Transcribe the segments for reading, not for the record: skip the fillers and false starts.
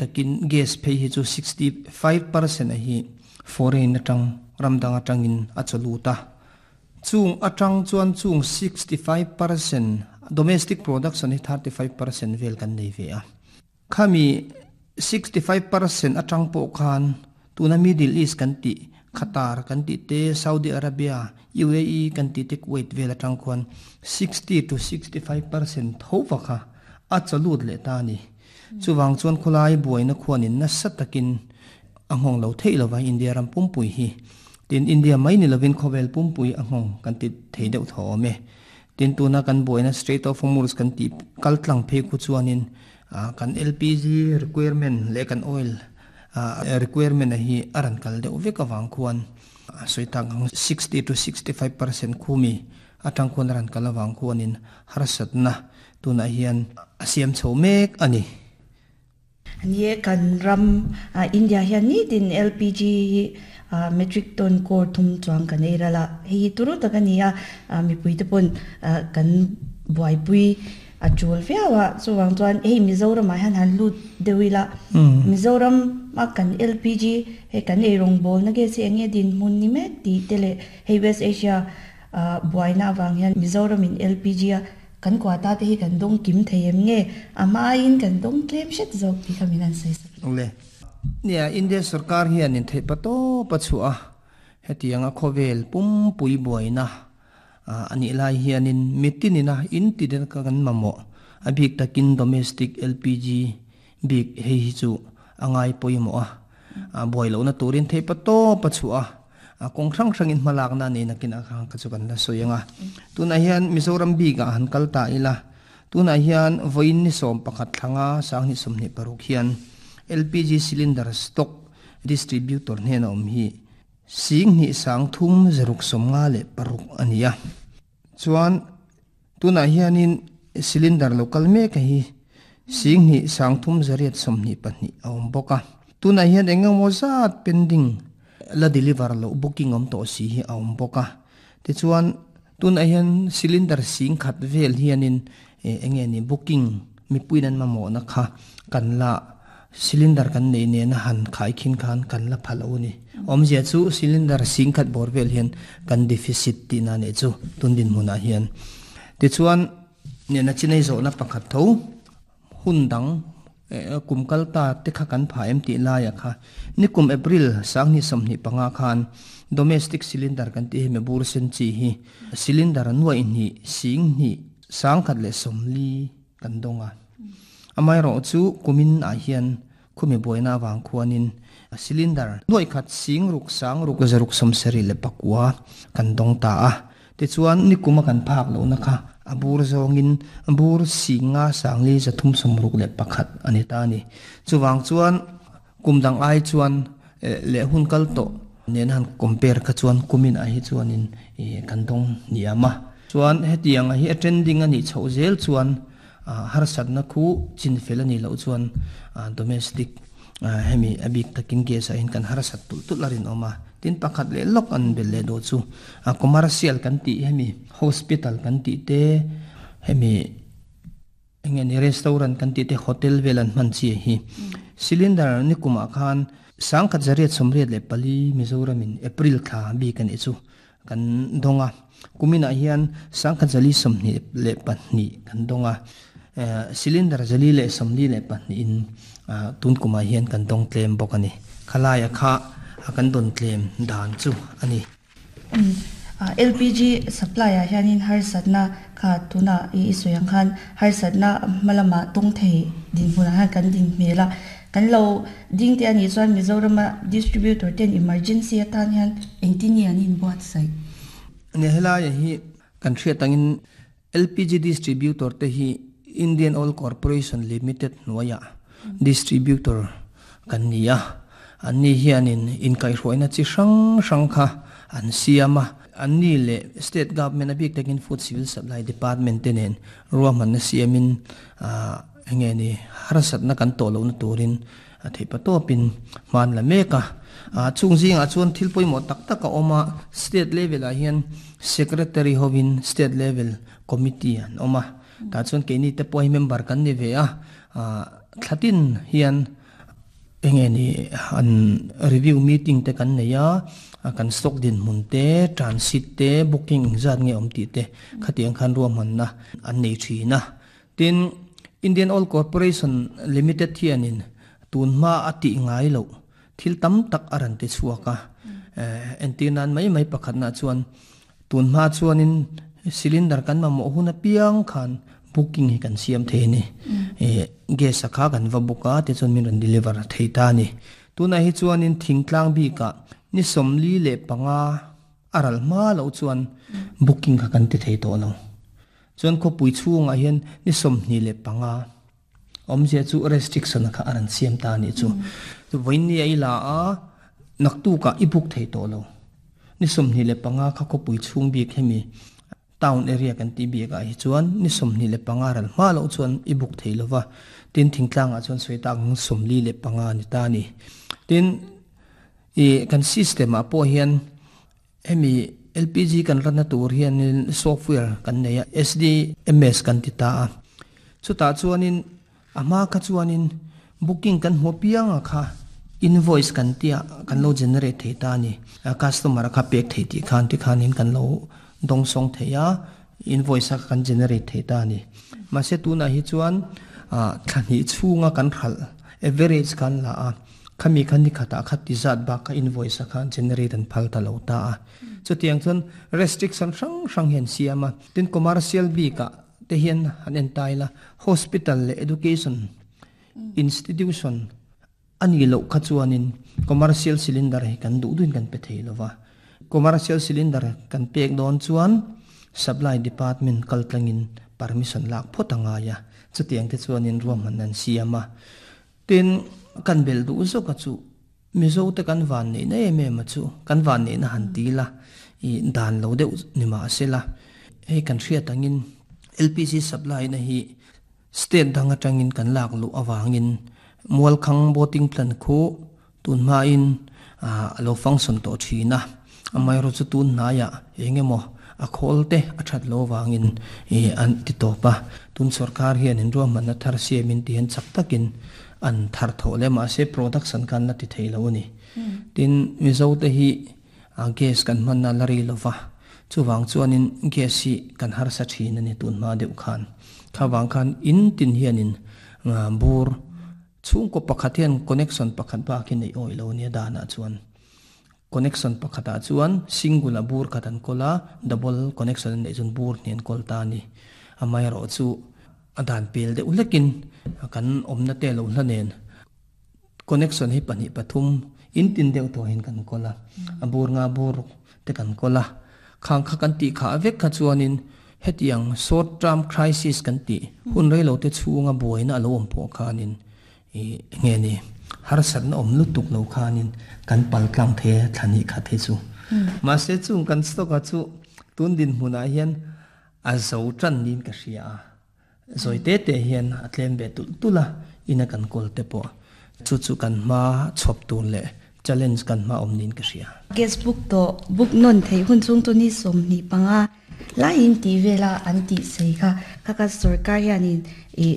takin gas phei hi chu 65% a hi foreign atang ram dang atangin a chaw lut a. Chung atang chuan chung 65% domestic production hi 35% vel kan nei ve a. Khami 65% atang pawh khan tuna Middle East kan tih, Qatar kan tih te, Saudi Arabia, UAE kan tih te, Kuwait vel atang khuan 60 to 65% tho va kha a chaw lut leh ta a ni. Chuvang chuan khawlai buaina khuanin nasa takin a nghawng lo theih lova India ram pumpui hi. Tin, India mai ni lovin khawvel pumpui a nghawng kan ti thei deuh tho awm e. Tin, tuna kan buaina Strait of Hormuz kan tih kal tlang phei khu chuanin kan LPG requirement leh kan oil requirement a hi a rawn kal deuh vek avang khuan sawi tak ang 60 to 65% khumi atang khuan a rawn kal avang khuanin harsatna tunah hian a siam chho mek a ni. Ni e, kan ram India hian nitin LPG hi metric ton crore thum chuang kan ei ral a, hei hi turu tak a ni a, mipuite pawn kan buaipui a tul viau a, chuvang chuan hei Mizoramah hian han lut deuh ila, Mizoram a kan LPG hei kan ei rawngbawlna gas hi eng nge dinhmun ni mek tih te leh hei West Asia buaina avang hian Mizoramin LPG a Kan quota te hi kan dawng kim thei em nge? A hmain kan dawng tlem hret zawk tih kha min han sawi sak. Le. Nia, India sorkar hian in theih pa tawp a chhuah a, hetianga khawvel pumpui buaina a nih lai hianin mitin ina in ti den ka kan mamawh, a bik takin domestic LPG bik hei hi chu a ngai pawimawh a, buai lohna turin theih pa tawp a chhuah a. A kawng hrang hrangin hmalakna a nei nakin a kha kha chu kan la sawi ang a. Tunah hian Mizoram bikah han kal ta ila, tunah hian vawiin ni 11 thlanga 2026 hian LPG cylinder stock distributor hnena awm hi 2356 a ni a. Chuan tunah hianin cylinder lo kal mek a hi 2324 a awm bawk a. Tunah hian eng emaw zat pending la deliver loh booking awm tawh si hi a awm bawk a. Tichuan tunah hian cylinder 10,000 vel hianin eng nge ni booking mipuiin an mamawhna kha kan la Cylinder kan neih nena han khai khin khan kan la pha lo a ni. Awmzia chu cylinder 10,000 bawr vel hian kan deficit tihna a nih chu tun dinhmunah hian. Tichuan nena chinei zawhna pakhat tho hun dang kum kal ta te kha kan pha em tih laiah kha nikum April 2025 khan domestic cylinder kan tih hi mebur sen chi hi cylinder nuaih hnih 2 140 kan dawng a. Amaherawh chu kumin ah hian khumi buaina avang khuanin cylinder nuaih khat 6 6 674 kan dawng ta a. Tichuan nikuma kan phak lohna kha a bur zawngin bur 5 361 a ni ta a ni. Chuvang chuan kum dang ai chuan leh hun kal tawh nena han compare kha chuan kumin ah hi chuanin kan dawng hniam a. Chuan hetiang ah hi a trending a nih chhoh zel chuan harsatna khu chin fel a nih loh chuan domestic hemi a bik takin gas ah hian kan harsat tulh tulh a rinawm a. Tin pakhat leh lawk an belh leh duh chu commercial kan tih hemi hospital kan tih te hemi Enge ni restaurant kan tih te hotel vel an hman chi hi. Cylinder ni kumah khan 1884 Mizoram in April thla bik a nih chu kan dawng a. Kuminah hian 1422 kan dawng a. Cylinder 442 in tun kumah hian kan dawng tlem bawk a ni. Khalaia kha kan dawn tlem dan chu a ni. LPG supply ah hianin harsatna kha tunah i sawi ang khan harsatna hma lamah tawng thei dinhmunah hian kan din hmel a, kan lo ding te a nih chuan Mizorama distributor ten emergency atan hian engtin nge an inbuatsaih? Nia helaiah hi kan hriat angin LPG distributor te hi Indian Oil Corporation Limited hnuaiah distributor kan ni a, anni hianin inkaihhruaina chi hrang hrang kha an siam a, anni leh state government a bik takin Food Civil Supply Department te nen ruahmanna siamin eng nge ni harsatna kan tawh lohna turin a theih pa tawpin hman la mek a. Chung zingah chuan thil pawimawh tak tak a awm a, state level ah hian secretary hovin state level committee an awm a, tah chuan keini te pawh hi member kan ni ve a, thlatin hian. Enge ni an review meeting te kan nei a, kan stock dinhmun te, transit te, booking engzat nge awm tih te khatiang khan ruahmanna an nei thin a. Tin, Indian Oil Corporation Limited hianin tun hma a tih ngai loh thil tam tak a rawn ti chhuak a. Entir nan mai mai pakhatna chuan Tun hma chuanin cylinder kan mamawh hun apiang khan booking hi kan siam thei a ni. Gas a kha kan va book a, tichuan min rawn deliver thei ta a ni. Tunah hi chuanin thingtlang bikah ni 45 a ral hma loh chuan booking kha kan ti thei tawh lo. Chuan khawpui chhungah hian ni 25 awmzia chu restriction kha a rawn siam ta a nih chu. Vawiin a i la a, naktukah i book thei tawh lo. Ni 25 kha khawpui chhung bik hemi town area kan tih bikah hi chuan ni 25 ral hma loh chuan i book thei lo va, tin thingtlangah chuan sawi tak ang 45 a ni ta a ni. Tin, i kan system ah pawh hian Hemi LPG kan ranna tur hianin software kan nei a, SDMS kan ti ta a. Chutah chuanin a hma kha chuanin booking kan hmu apianga kha invoice kan tia kan lo generate thei ta a ni. Customer a kha pek thei tih khan tikhanin kan lo dawngsawng thei a, invoice a kan generate thei ta a ni. Mahse tunah hi chuan thla hnih chhunga kan hralh average khan la a. Khami kha ni khatah kha ti zat bak kha invoice a kha generate an phal ta lo ta a. Chutiang chuan restriction hrang hrang hi an siam a. Tin commercial bikah te hian han en ta ila hospital leh education institution a nih loh kha chuanin commercial cylinder hi kan duh duhin kan pe thei lo va. Commercial cylinder kan pek dawn chuan supply department kal tlangin permission lak phawt a ngai a. Chutiang te chuanin ruahmanna an siam a. Tin, kan belh duh zawk a chu Mizo te kan van neihna em em a chu kan van neihna han ti ila i dan lo deuh ni mah se la, hei kan hriat angin LPG supply na hi state dang atangin kan lak luh avangin Mualkhang boating plant khu tun hmain a lo function tawh thin a, amaherawhchu tun hnaiah eng emaw a khawl te a that lo avangin an ti tawp a, tun sorkar hian in ruahmanna thar siamin ti hian chak takin an thar thawh leh mahse production khan la ti thei lo a ni. Tin, Mizo te hi gas kan hmanna la ri lova, chuvang chuanin gas hi kan harsa thin a ni tun hma deuh khan. Kha vang khan in tin hianin bur Chhungkaw pakhat hian connection pakhat bak hi neih awih lo nia danah chuan connection pakhatah chuan single a bur khat an kawl a, double connection an neih chuan bur hnih an kawl ta a ni. Amaherawh chu a dan pel deuh hlekin kan awmna te lo hla nen connection hi pahnih pathum in tin deuh tawh hian kan kawl a, a bur nga bur te kan kawl a. Khang kha kan tih khah vek kha chuanin hetiang short term crisis kan tih hun rei lo te chhunga buaina a lo awm pawh khanin ih nge ni harsatna awm lutuk lo khanin kan pal tlang thei a thla hnih khat hi chu. Mahse chung kan stock a chu tun dinhmunah hian a zo tan niin ka hria a. Zawi te te hian a tlem ve tulh tulh a, ina kan kawl te pawh chu chu kan hma chhawp tur leh challenge kan hma awm niin ka hria. Guest book tawh book nawn theih hun chung chu ni 25 laiin tih vela an tih sei kha. Kha kha sorkar hianin ih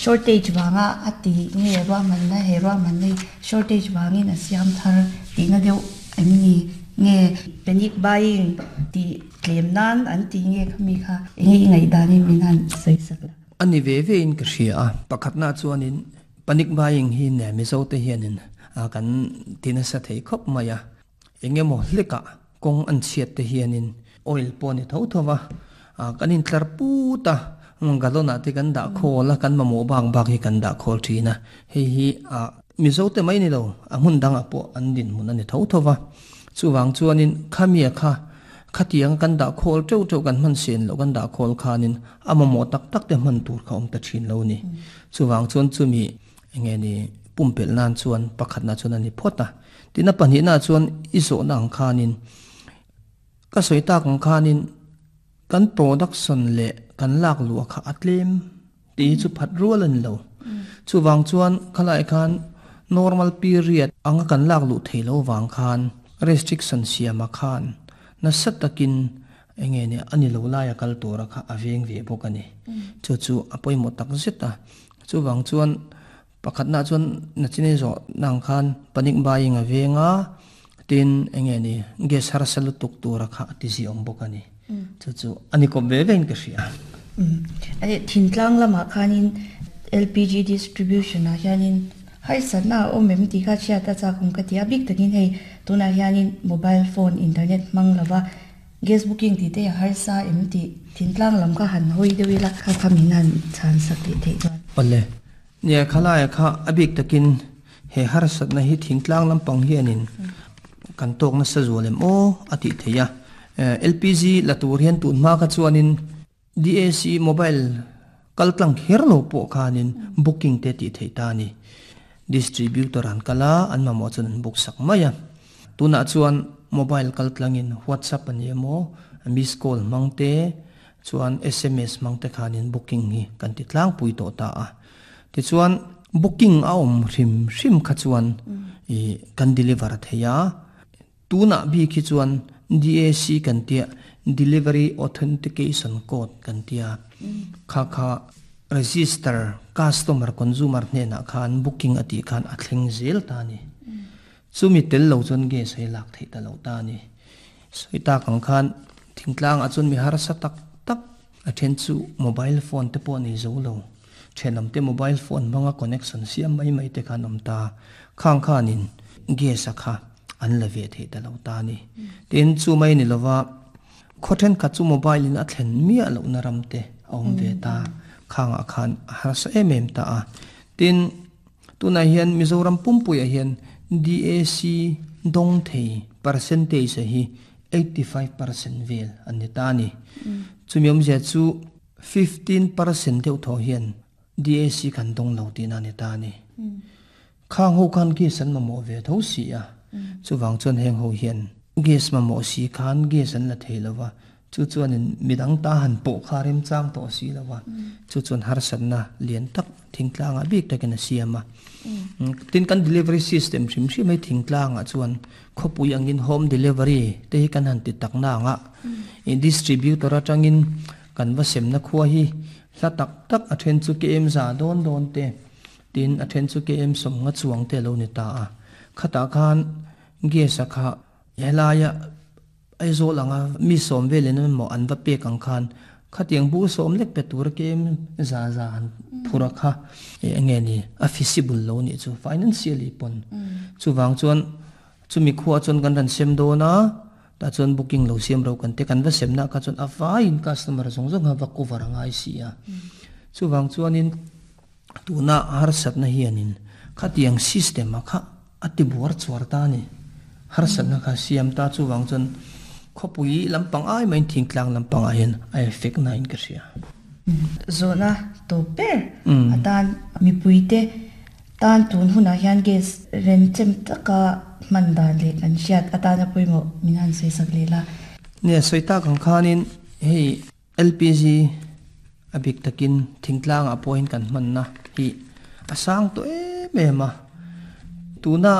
shortage vanga a ti nge ruahmanna he ruahmanna hi shortage vangin a siam thar tihna deuh em ni nge panic buying tih Tlem nan an ti nge kha mi kha enge i ngaihdanin min han sawi sak la. A ni ve ve in ka hria a, pakhatna chuanin panic buying hi ne Mizo te hianin kan ti nasa thei khawp mai a, eng emaw hlekah kawng an chhiat te hianin oil pawh a ni tho tho va, kan intlar put a, gallon ah te kan dah khawl a, kan mamawh bak bak hi kan dah khawl thin a, hei hi Mizo te mai ni lo a hmun dangah pawh an dinhmun a ni tho tho va, chuvang chuanin khamia kha khatiang kan dah khawl teuh teuh kan hman sen loh kan dah khawl khanin a mamawh tak tak te hman tur kha awm ta thin lo ni. Chuvang chuan chumi enge ni pumpelh nan chuan pakhatna chuan a ni phawt a, tin a pahnihna chuan i zawhna ang khanin ka sawi tak ang khanin kan production leh kan lak luah kha a tlem. Tih hi chu phat rual a ni lo. Chuvang chuan khalai khan normal period anga kan lak luh thei lo vang khan restriction siama khan nasa takin enge nia a ni lo laia kal tura kha a veng ve bawk a ni. Chu chu a pawimawh tak zet a. Chuvang chuan. Pakhatna chuan nachin ei zawh na ang khan panic buying a veng a, tin enge ni gas harsa lutuk tura kha a ti ziawm bawk a ni. Chu chu a ni kawp ve vein ka hria. Thintlang lamah khanin LPG distribution ah hianin harsatna a awm em tih kha chhiat a chak awm ka ti a, bik takin hei tunah hianin mobile phone internet hmang lova gas booking tih te hi a harsa em tih thintlang lam kha han hawi deuh ila kha kha min han chhan sak leh theih chuan. Awle, nia khalaia kha a bik takin he harsatna hi thingtlang lampang hianin kan tawk nasa zual em aw a tih theih a. LPG la tur hian tun hma kha chuanin DAC mobile kal tlang kher lo pawh khanin booking te tih theih ta a ni. Distributor an kal a, an mamawh chuan an book sak mai a. Tunah chuan mobile kal tlangin WhatsApp a ni emaw, miss call hmang te chuan sms hmang te khanin booking hi kan ti tlangpui tawh ta a. Tichuan booking a awm hrim hrim kha chuan ih kan deliver thei a. Tunah bik hi chuan DAC kan tia, Delivery Authentication Code kan tia, kha kha register customer consumer hnenah khan booking a tih khan a thleng zel ta a ni. Chumi tel lo chuan gas hi lak theih ta lo ta a ni. Sawi tak ang khan thingtlangah chuan mi harsa tak tak a then chu mobile phone te pawh a nei zo lo. Thenawm te mobile phone hmanga connection siam mai mai te khan awm ta. Khang khanin gas a kha an la ve theih ta lo ta a ni. Tin, chu mai ni lova khaw thenkhat chu mobile in a thlen miah lohna ram te a awm ve ta. Khangah khan a harsa em em ta a. Tin, tunah hian Mizoram pumpuiah hian DAC dawng thei percentage hi 85% vel an ni ta a ni. Chumi awmzia chu 15% deuh thaw hian DAC kan dawng lo tihna a ni ta a ni. Khang ho khan gas an mamawh ve tho si a, chuvang chuan heng ho hian gas mamawh si khan gas an la thei lo va, chu chuanin midang ta han pawh kha remchang tawh si lo va, chu chuan harsatna lian tak thingtlangah bik takin a siam a. Tin, kan delivery system hrim hrim hi thingtlangah chuan khawpui angin home delivery te hi kan han ti tak na ang a, distributor atangin kan va semna khua hi hla tak tak a then chu KM za dawn dawn te, Tin, a then chu KM sawmnga chuang te a lo ni ta a. Khatah khan gas-a kha helaia Aizawl anga mi sawm velin emaw an va pek ang khan khatiang bu sawm lek pe tura KM za za han phur a kha enge ni a feasible lo nih chu financially pawn. Chuvang chuan chumi khuaah chuan kan rawn sem dawn a, tah chuan booking lo siam ro kan ti kan va semna kha chuan a vaiin customer zawng zawng kha va cover a ngai si a. Chuvang chuanin. Tuna harsatna hianin khatiang system a kha a ti buar chuar ta a ni. Harsatna kha siam ta chuvang chuan khawpui lampang ai maiin thingtlang lampangah hian a effect nain ka hria. Zawhna tawp ber atan mipuite tan tun hunah hian gas renchem taka hman dan leh kan hriat atana pawimawh min han sawi sak leh la. Nia, sawi tak ang khanin hei LPG a bik takin thingtlangah pawhin kan hmanna hi a sang tawh em em a. Tuna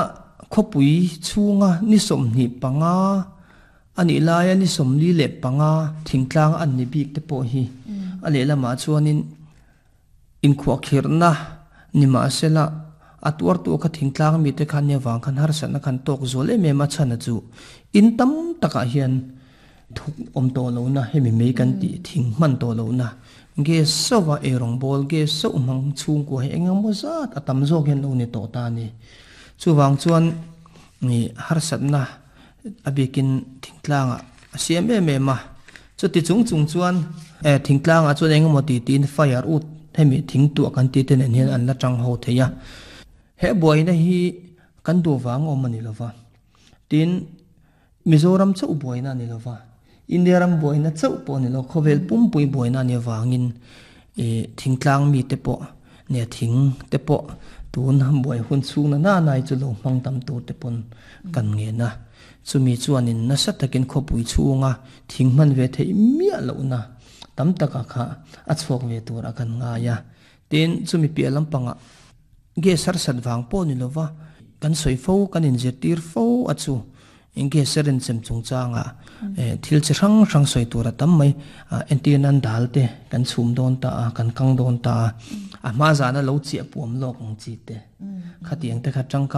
khawpui chhunga ni 25 a nih laia ni 45 thingtlang an ni bik te pawh hi a lehlamah chuanin Inkhuahkhirhna ni mahsela, a tuartu kha thingtlang mite khan nia vang khan harsatna khan tawk zual em em a chhan a chu in tam takah hian thuk awm tawh lohna hemi mei kan tih thing hman tawh lohna gas sauh a eirawng bawl gas sauh hmang chhungkua hi eng emaw zat a tam zawk hian lo ni tawh ta a ni. Chuvang chuan harsatna a bikin thingtlangah a siam em em a, chuti chung chung chuan thingtlangah chuan eng emaw ti tiin fire ut hemi thing tuah kan tih te nen hian an la tang ho thei a, he buaina hi kan duh vang awm a ni lova, tin Mizoram chauh buaina a ni lova, India ram buaina chauh pawh a ni lo, khawvel pumpui buaina a nih avangin thingtlang mite pawh nia thing te pawh tun buai hun chhung na nana hi chu lo hmang tam tur te pawn kan ngen a. Chumi chuanin nasa takin khawpui chhunga thing hman ve theih miah lohna tam taka kha a chhuak ve tur a kan ngai a. Tin, chumi piah lampangah gas harsat vang pawh ni lova kan sawi fo, kan inzirtir fo a chu. Gas a renchem chungchanga thil chi hrang hrang sawi tur a tam mai. Entir nan dal te kan chhum dawn ta a, kan kang dawn ta a. A hma zana lo chiah puam lawk ang chi te. Khatiang te kha tangkai.